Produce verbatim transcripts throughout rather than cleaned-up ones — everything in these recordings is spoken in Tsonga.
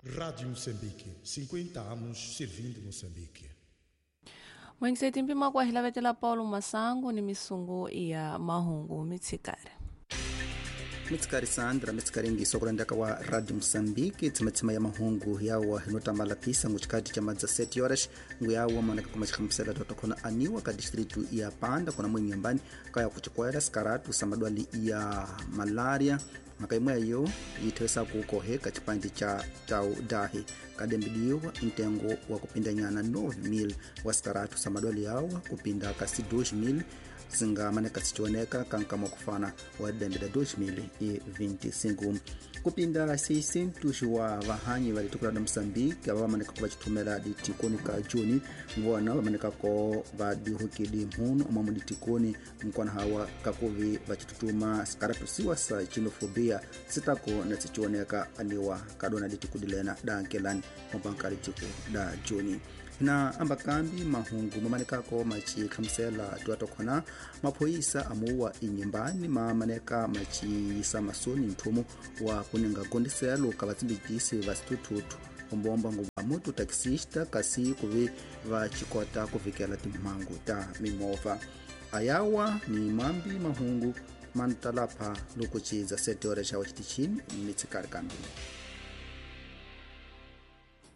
Rádio Moçambique, cinquenta anos servindo Moçambique. Mwengiseti mpima kwa hilavetela Paulo Masango ni misungu ya mahungu mitsikari. Mitsikari Sandra mitsikari ngiso kulandaka wa Radio Moçambique tsimatsima ya mahungu yawa hinotambala pisa nguchikati cha madza sete horas nguyawa manaka kumachikhamusela totokona aniwa ka distritu ya Panda kona mwenyambani kaya kuchikwela sikaratu samadwali ya malaria makaimweyo yithwesa kukoheka chipandi cha tau dahi kadembidiwa ntengo wa kupindanyana nove mil wa sikaratu samadwali yawa kupinda kasi dois mil zingamaneka sichioneka kankama kufana wa dembeda dois mil e vinte e cinco kupinda seiscentos wa vahanyi valitukula da Moçambique ava vamaneka ko vachithumela ditikoni ka juni vona vamaneka ko vadihukidi mhunu omwamo ditikoni nkwana hawa kakuvi vachitutuma sikaratusiwa sa xenofobia sitako na sichioneka aniwa kadona ditikudilena dankelani ompanka ditiku da juni na ambakambi mahungu mamanekako machikhamusela tuatokhona maphoyisa amuwa inyimbani mamaneka machiyisa masoni nthumu wa kuninga gondiselo ka vatsimbikisi va situthuthu ombomba nguva mutu taxista kasi kuvi va chikota kuvikela timhangu ta mimovha ayawa ni mambi mahungu mantalapha loko ciza sete horas xa waxitichini mitsikari kambi.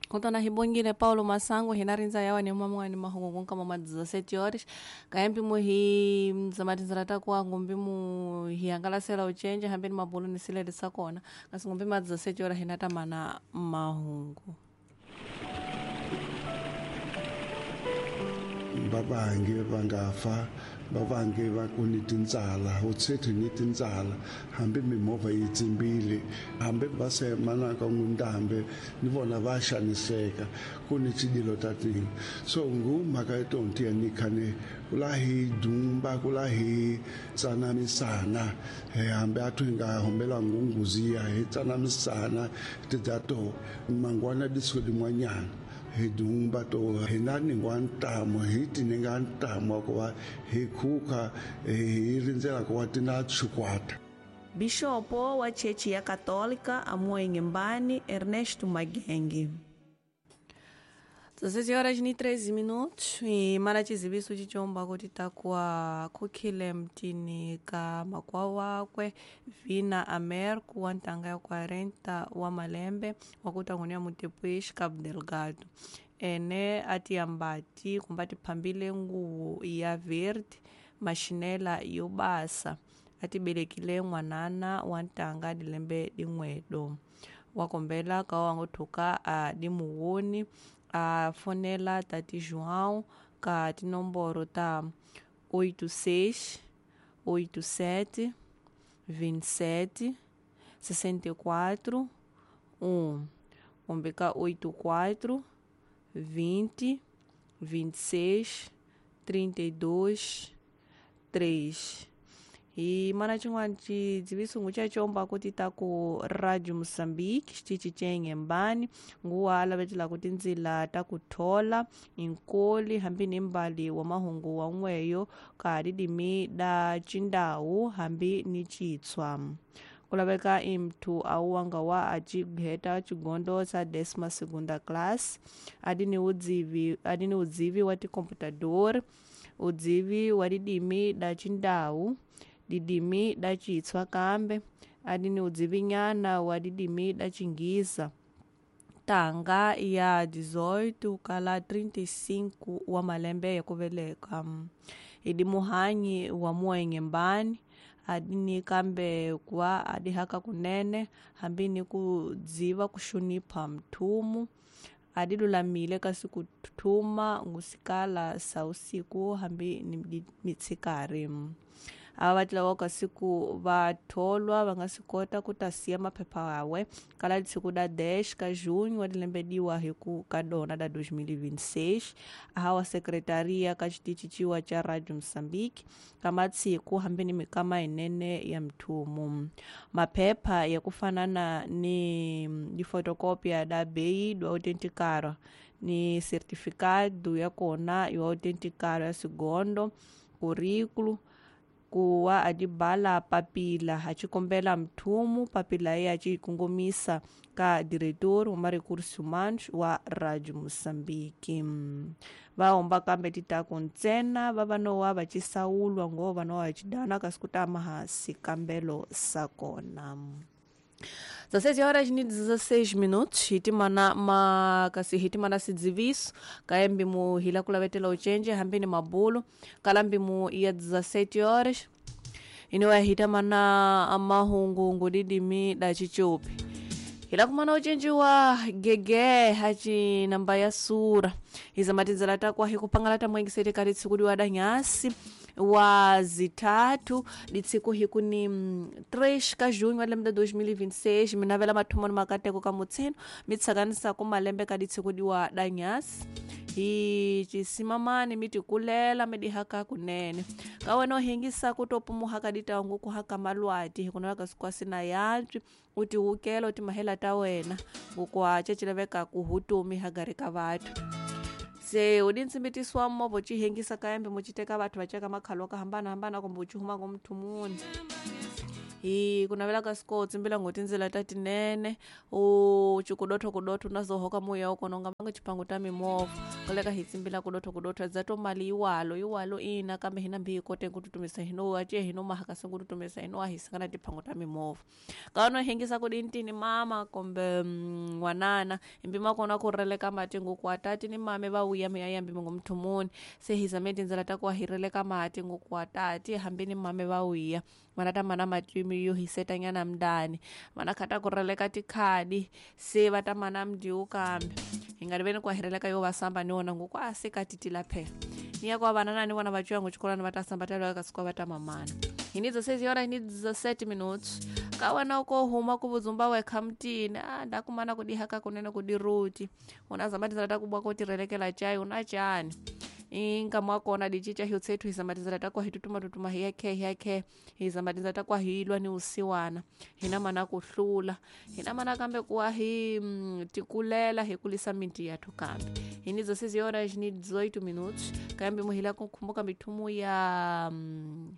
Kontona hibongile Paulo Masango hina rindza yawa ni mamwa ni mahungu kama ma dezessete horas kaembi mu hi mzamatizira takuwa ngumbi mu hiangalasela uchenje hambi ni mabulu ni silele sakona kasi ngumbi ma dezessete horas hina tamana mahungu. Babange bangafa babange bakunitintsala utsethe nitintsala hambe mimovha yi tsimbile hambe va semanaka n'wintambe ni vona va xaniseka ku ni tshidilo ta tini so ngu mhaka ya tonti ya nikhane ku la hi dumba ku la hi tsanamisana hambe a thu hi nga hombela ngunguziya hi tsanamisana tidya to mangwana disuku din'wanyana hi dumba to hi na ningwa ntamu hi tininga ntamu wa ku va hi khukha hi rindzela ku va ti na chikwata. Bishopo wa Chechi ya Católica amuwa Inhambane Ernesto Magenge. dezesseis horas e treze minutos e mara chizibiso chichomba kuti takuwa kukhile mtini ka makwa wakwe Vina Amerco wa ntanga ya quarenta wa malembe wakuta ngunia mutepuish Cabo Delgado ene atiyambati kumba tiphambile nguwo ya verde machinela yo basa atibelekile n'wanana wa ntanga dilembe din'wedo wakombela ka wangothuka a dimuwoni a fonela tati João ka tinomboro ta oito seis, oito sete, vinte e sete, sessenta e quatro, um kumbe ka oito quatro, vinte, vinte e seis, trinta e dois, três. E mana chin'wana chidziviso chachomba kuti ta ku Radio Moçambique xitichi cha Inhambane nguwa lavetela ku tindzila ta ku thola inkoli hambi ni mbali wa mahungu wa n'weyo ka didimi da chindawu hambi ni chitswa ku laveka imthu awuwanga wa acigheta chigondo sa décima segunda classe adi ni udzivi adi ni udzivi wa ticomputador udzivi wa didimi da chindawu didimi da chitswa kambe adi ni udzivinyana wa didimi da chingiza tanga ya dezoito kala trinta e cinco wa malembe ya kuveleka idi muhanyi wa muenye adi ni kambe kwa adi haka kunene hambi ni kudziva kushunipha mthumu adi lulamile kasi kuthuma ngusikala sa usiku hambi ni mitsikari ava vatlawa kasi ku vatholwa va nga swi kota ku ta siya maphepha yawe kala siku da dez ka junho wa dilembediwa hi ku ka dona da dois mil e vinte e seis ahawa sekretaria ka xitichi ciwa cha Radio Moçambique ka matsiku hambi ni mikama yinene ya mthumu maphepha ya ku fanana ni difotokopia da bei do autenticarwa ni certificado ya kona yo autenticarwa ya sigondo currículo Kuwa adibala papila achikombela mthumu papila ye achikongomisa ka diretor wa recursos humanos wa Radio Moçambique. Vaomba kambe titaku ntsena va vanowa va cisawulwa ngo vanowa vachidana kasi kutama hansi kambelo sakona. dezesseis horas e dezesseis minutos hitimana ma kasi hitimana sidziviso kaembi mu hila kulavetela uchenje hambini mabulu kalambi mu ya dezessete horas inowa hitamana amahungu ngudidimi da chichupi hila kumana uchenji wa gege hachi namba ya sura izamatizela takwa hikupangala tamwengisete kati tsikudi wa danyasi wa zitatu ditsiku hiku ni três ka junho wa lembe dois mil e vinte e seis minavela mathomo ni makateko ka mutseno mitsakanisa ku malembe ka ditsiku diwa danyasi hi cisimamani mitikulela midihaka kunene ka wena u hingisa ku to pumuhaka ditangu ku haka malwati hikunala ka sikwasi na yantswi u tiwukela u timahela ta wena ngukwa cecilaveka ku hutumi hagari ka vathu se udintsimbitisiwa movha cihengisa kaembe muciteka vathu vaceka makhalo ka hambanahambana kumbe ucihuma ngomthumuni hi kunavela ka siko tsimbila ngo tindzela ta tinene u cikudotho kudotho unazohoka muya ukona unga vanga chipango ta mimovha koleka hi tsimbila kudotho kudotho dza to mali iwalo iwalo ina kambe hina mbi hi kote kututumisa hino ace hino mahaka se kututumisa hino ahisangana tiphango ta mimovha kaona hengisa kudintini mama kumbe n'wanana imbi makona ku releka mati nguku atati ni mame va wuya mi ya yambi ngomthumuni se hizame tindzela ta ku ahireleka mati nguku atati hambi ni mame va wuya mana ta mana matimi yo hisetanyana mndani mana khata ku releka tikhadi se va ta mana mdiwu kambe hi nga riveni ku ahireleka yo va samba ni wona nguku a se ka titila phela ni ya kwa vanana ni vona va cuya xikolani va ta samba ta ka siku va ta mamana hi ni dezesseis horas ni dezessete minutos ka wena uko huma ku vudzumba wekha mutini a ndakumana ku dihaka kunene ku diruti una zamba tindzela ta ku bwa ko tirhelekela chai una chani inkama wa kona dichicha hiyo tsethu hizamatizela takwa hitutuma tutuma hiyakhe hiyakhe hizamatizela takwa hiilwa ni usiwana hina mana kuhlula hina mana kambe kuwa hi mm, tikulela hikulisa minti yathu kambe hini dezesseis horas ni dezoito minutos kambe muhila kukhumbuka mithumu ya mm,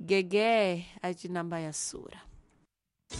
gege acinamba ya sura.